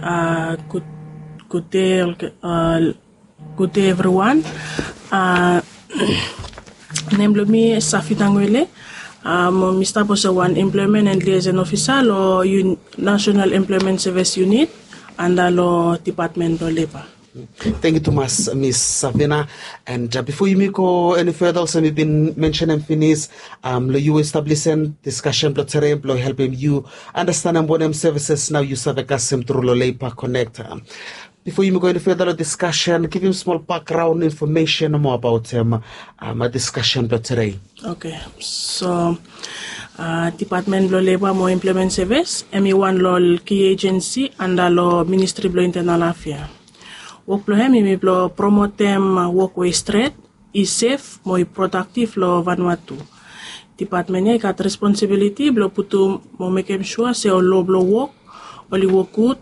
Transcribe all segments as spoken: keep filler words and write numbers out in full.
Uh, good, good day, uh, good day everyone. Uh, Nem blong mi Safina Ngwele. Uh, mo mi stap olsem wan employment and liaison officer lo un, National Employment Service Unit anda lo Department lo Labor. Thank you tumas Miss Safina. And uh, before yumi go any further, olsem mi bin mentionem finis, um, lo yu we stap lisen discussion blo tere blo helpem yu understandem wanem services nao yu save kasem tru lo Labor Connect. Um, before yumi go any further lo discussion, givim smol background information mo about um, um, discussion blo tere. Okay, so uh, Department blo Labor mo Employment Service, em i wan lo ol key agency anda lo Ministry blo Internal Affair. Wok blo hem i mi blo promotem wok we i stret, i sef mo i prodaktiv lo Vanuatu. Department ya i gat responsibiliti blo putum mo mekem sua se ol lo blo wok oli wok gud,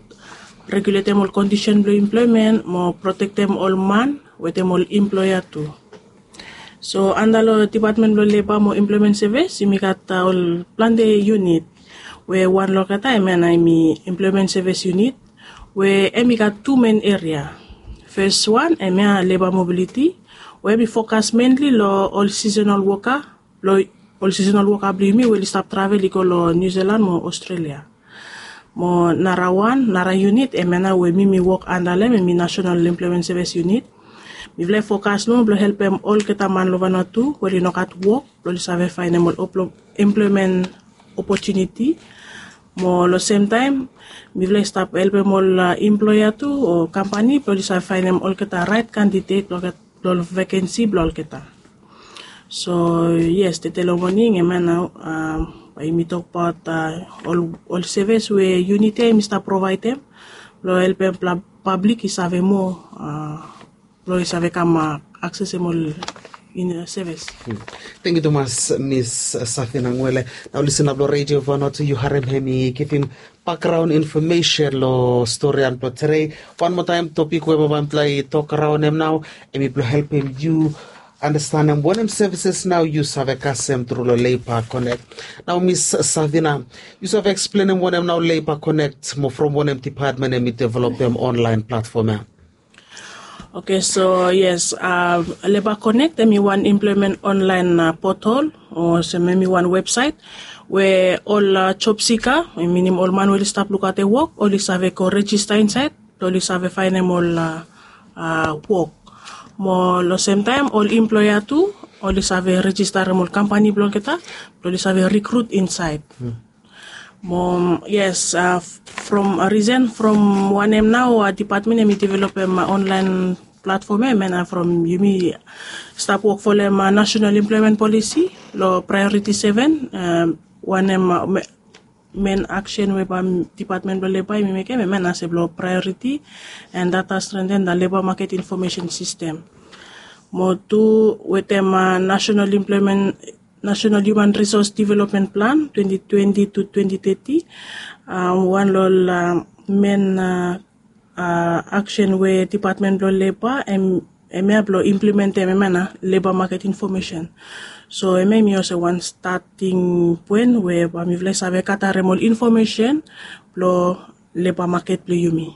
reguletem ol kondisen blo employment mo protektem ol man wetem ol employer tu. So anda lo Department blo Labor mo Employment Service yumi gat uh, ol plante unit, we wan lo olgeta em ya nao em i Employment Service Unit, we em i gat tu men eria. Fes wan em ya labor mobility, we em i fokas menli lo ol seasonal worker, lo ol seasonal worker blo yumi we oli stap travel i go lo New Zealand mo Australia. Mo nara wan, nara unit em ya nao we mi mi wok anda lo hem em i National Employment Service Unit. Mifala i fokas nomo blo helpem olgeta man lo Vanuatu we oli no gat wok blo oli save faenem ol employment opportunity. Mo lo semtaem mifala i stap helpem ol uh, employer tu o kampani blo oli save faenem olgeta raet kandidet blo olgeta lo ol vakensi blo olgeta. So yes, tede lo moning em ya nao bae yumi tokbaot ol sevis we unit ya yumi stap provaedem blo helpem pablik i save moa, blo i save kam aksesem ol sevis. Tangkiu tumas Miss Safina Ngwele. Nao lisin nao blo redio Vanuatu, yu harem hem i givim bakgraon infomesen lo storian blo tede. Wan moa taem topik we bae mifala i tok raon hem nao, hem i blo helpem yu andastanem wanem sevises nao yu save kasem tru lo Labour Connect. Nao Miss Safina, yu save eksplenem wanem nao Labour Connect mo from wanem depatmen hem i developem onlaen platfom ya? Oke, so yes, Labour Connect hem i wan employment onlaen potol, olsem hem i wan websaet we ol job seeker, minim ol man we oli stap lukaotem wok, oli save go rejista insaed blo oli save faenem ol wok. Mo lo semtaem ol employer tu oli save rejistarem ol kampani blo olgeta blo oli save rikrut insaed. Mo yes, from risen from wanem nao depatmen hem i developem onlaen platfom ya, hem ya nao from yumi stap wok folem National Employment Policy lo Priority seven, wanem men aksen we bae depatmen blo Labour hem i mekem, hem ya nao se blo Priority and Data Strengthen the Labour Market Information System. Mo tu wetem National Employment National Human Resource Development Plan twenty twenty to twenty thirty. Wan lo ol men aksen we depatmen blo Labour hem ya blo implementem hem ya nao Labour Market Information. So hem ya hem i olsem wan stating poen we bae mifala i save gatarem ol infomesen blo labour maket blo yumi.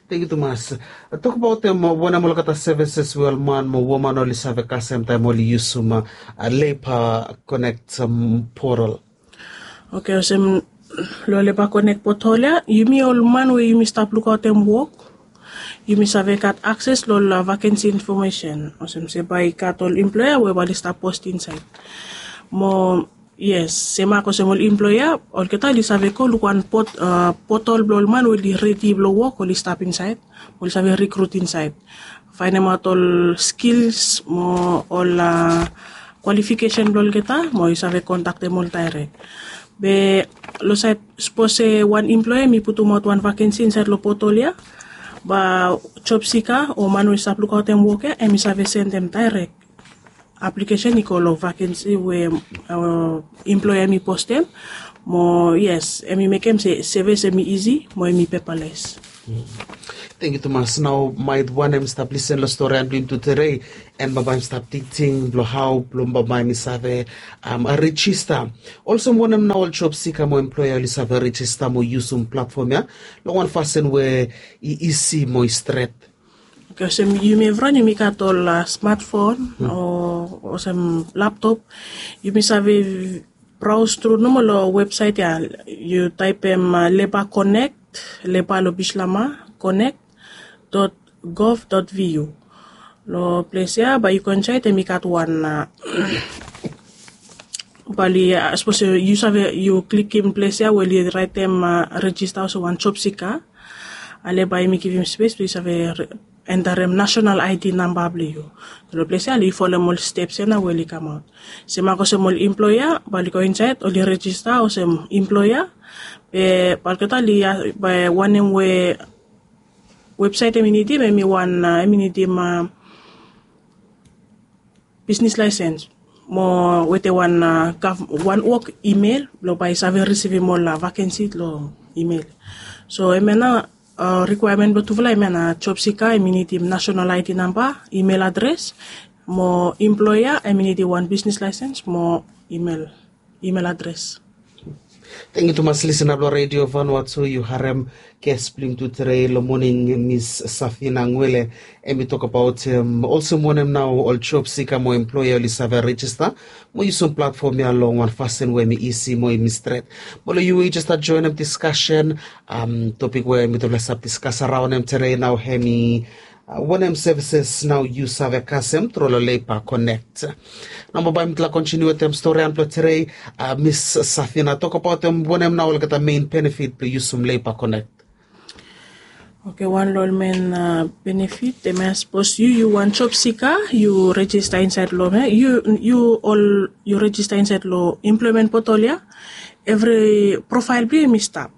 Tangkiu tumas. Tokbaotem wanem olgeta sevises we ol man mo woman oli save kasem taem oli yusum Labour Connect potol? Oke, olsem lo Labour Connect potol ya, yumi ol man we yumi stap lukaotem wok, yumi save gat akses lo ol vakensi infomesen, olsem se bae i gat ol employer we bae oli stap post insaed. Mo yes, semak olsem ol employer, olgeta oli save go luk wan potol blo ol man we oli redi blo wok, oli stap insaed, oli save rikrut insaed, faenemaot ol skils mo ol kwalifikesen blo olgeta, mo i save kontaktem ol daerek. Be lo saed, sapos se wan employer hem i putumaot wan vakensi insaed lo potol ya, bae job seeker o man we i stap lukaotem wok ya hem i save sendem daerek aplikesen i go lo vakensi we employer hem i postem. Mo yes, hem i mekem se sevis hem i isi mo hem i pepales. Tengiu tumas. Nao maet wanem i stap lisen long storian blong yumi tude, en bambae yumi stap tingting blong hao blong bambae yumi save rejista. Olsem wanem nao ol job sika mo emploea oli save rejista mo yusum platfom ya long wan fasin we i isi mo i stret? Olsem yumi evriwan yumi gat ol smatfon o olsem laptop, yumi save braos tru nomo long websaet ya. Yu taepem leba konek, leba long bislama konek dot gov dot vu. Long ples ya bae yu go insaed em i gat wan, bae oli sapos yu save yu klikim ples ya we oli raetem rejista olsem wan job sika. Ale bae yumi givim spes blong yu save entarem nasenal id namba blong yu. Long ples ya oli folem ol steps ya nao we oli kamaot. Semak olsem ol emploea bae oli go insaed oli rejista olsem emploea. Be bae olgeta oli bae wanem we websaet em i nidim em i wan em i nidim bisnis laesens mo wetem wan wok email blong bae i save risivim ol vakensi long email. So em ya nao rikwaemen blong tufala em ya nao job sika em i nidim nasenal id namba, email adres, mo emploea em i nidim wan bisnis laesens mo email adres. Tengiu tumas lisena blong redio vanua tu yu harem ges blong yumi tude long moning, mis Safina Ngwele, em i tokbaot olsem wanem nao ol job sika mo emploea oli save rejista mo yusum platfom ya long wan fasin we em i isi mo em i stret. Mo long yu we yu jes stat joenem diskasen, topik we mitufala i stap diskas araon em tude nao em i wanem sevises nao yu save kasem tru long Leiba Konek? Nao bambae mitufala kontiniu wetem storian blong tude, mis Safina, tokbaot wanem nao olgeta mein benefit blong yusum Leiba Konek? Oke, wan long ol mein benefit em ya sapos yu yu wan job sika yu rejista insaed long em ya yu ol yu rejista insaed long emploemen potol ya, evri profael blong yu em i stap.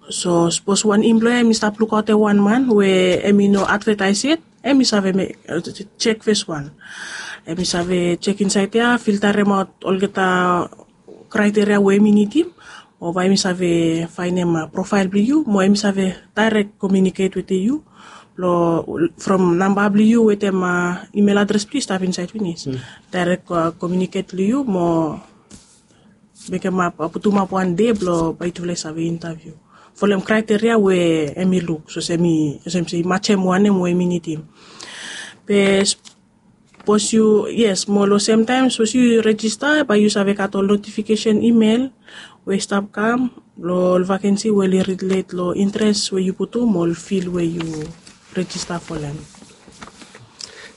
So sapos wan emploea em i stap lukaotem wan man we em i no advetaes yet, em i save jek fes wan. Em i save jek insaed ya, filtaremaot olgeta kraeteria we em i nidim, o bae em i save faenem profael blong yu mo em i save daerek komiuniket wetem yu long from namba blong yu wetem email adres blong yu i stap insaed finis. Daerek komiuniket long yu mo mekem ap putum ap wan dei blong bae yutufala i save intaviu folem kraeteria we em i luk olsem se i majem wanem we em i nidim. Be sapos yu yes mo long semtaem sapos yu rejista bae yu save gat ol notifikesen email we i stap kam long ol vakensi we oli rilet long interes we yu putum o ol fil we yu rejista folem.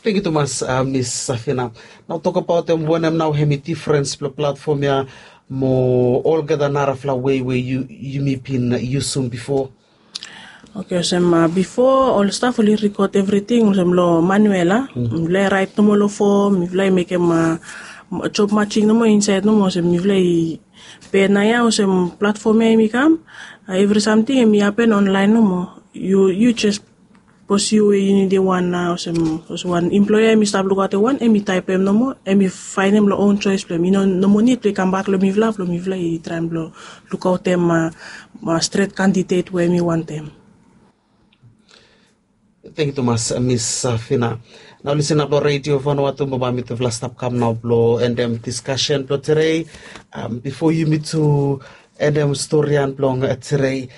Tengiu tumas, mis Safina. Nao tokbaot em wanem nao em i difrens blong platfom ya mo olgeta narafala wei we yumi bin yusum bifo? Oke, olsem bifo ol staf oli rikod evriting olsem long manuel a. Mifala i raet nomo long fom, mifala i mekem job majing nomo insaed nomo olsem mifala i. Be naoia olsem platfom ya em i kam, evri samting em i hapen onlaen nomo. Yu jes sapos yu we yu nidim wan nao olsem wan emploea em i stap lukaotem wan em i taepem nomo em i faenem long own joes blong em i no nomo nid blong i kambak long mifala blong mifala i traem blong lukaotem stret kandidet we em i wantem. Tengiu tumas, mis Safina. Nao lisin ap long redio vanua tu mo bae mitufala stap kam nao blong endem diskasen blong tude. Bifo yumi tu endem storian blong tude,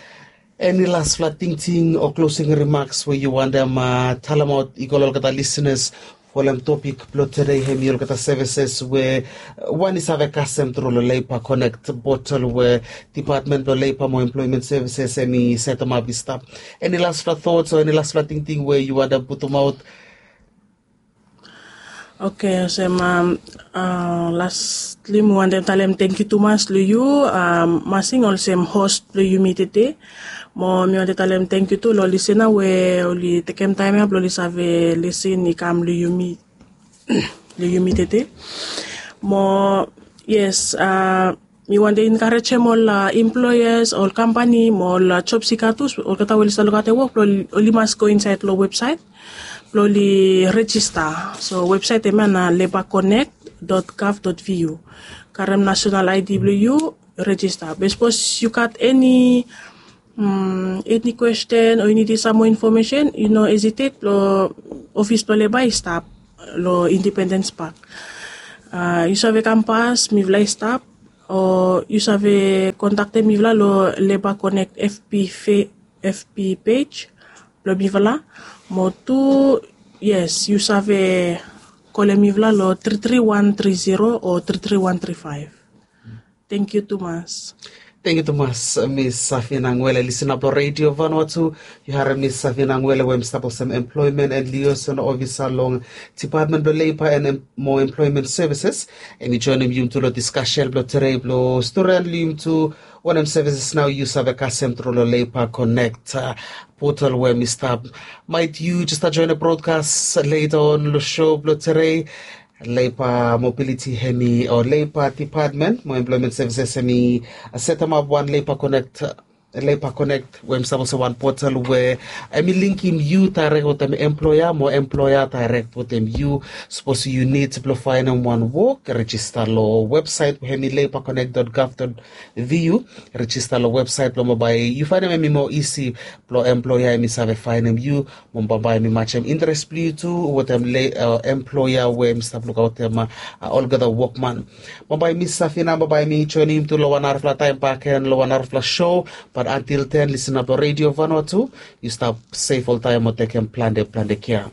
eni lasfala tingting o klosing rimaks we yu wantem talemaot i go long olgeta lisinas folem topik blong tude em i olgeta sevises we wan i save kasem tru long Leiba Konek potol we dipatmen blong Leiba mo Emploemen Sevises em i setemap i stap? Eni lasfala tots o eni lasfala tingting we yu wantem putumaot? Oke, olsem lastli mi wantem talem tengiu tumas long yu, Masing, olsem hos blong yumi tede. Mo mi wantem talem tengiu tu long ol lisena we oli tekem taem ya blong oli save lisin i kam long yumi long yumi tede. Mo yes, mi wantem enkarejem ol emploeas, ol kampani mo ol job sika tu, olgeta we oli stap lukaotem wok blong oli mas go insaed long websaet blong oli rejista. So websaet em ya na leba konek dot gov dot vu. Karem nasenal id blong yu, rejista. Be sapos yu gat eni Eni kwesten o yu nidim sam moa infomesen, yu no hesitate, long ofis blong leba i stap long Independence Park. Yu save kam pas, mifala i stap, o yu save kontaktem mifala long Labour Connect FB pej blong mifala. Mo tu, yes, yu save kolem mifala long tri tri wan tri zero o tri tri wan tri faef. Tengkiu tumas. Tengkiu tumas, Miss Safina Ngwele. Lisin ap long Redio Vanuatu, yu harem Miss Safina Ngwele we hem i stap olsem employment and liaison officer long Department blong Labour and mo Employment Services. Hem i joinim yumi tu long diskasen blong tede blong stori long yumi tu wanem services nao yu save kasem tru long Labour Connect portal we hem i stap. Maet yu jes stap joinim brodkas leta on long show blong tede, Labour Mobility hem i o Labour Department mo Employment Services hem i setemap wan Labour Connect, Labour Connect we hem i stap olsem wan portal we hem i linkim yu daerek wetem employer mo employer daerek wetem yu. Sapos yu nid blong faenem wan wok, rejista long websaet we hem i labour connect dot gov dot vu. Rejista long websaet blong bambae yu faenem hem i moa isi blong employer hem i save faenem yu. Mo bambae hem i majem interes blong yu tu wetem employer we hem i stap lukaotem olgeta wokman. Bambae Miss Safina, bambae mi joinim yu tu long wan narafala taem bakegen long wan narafala show. Bat antil ten, lisin ap long Redio Vanuatu. Yu stap sef oltaem mo tekem plante plante kea.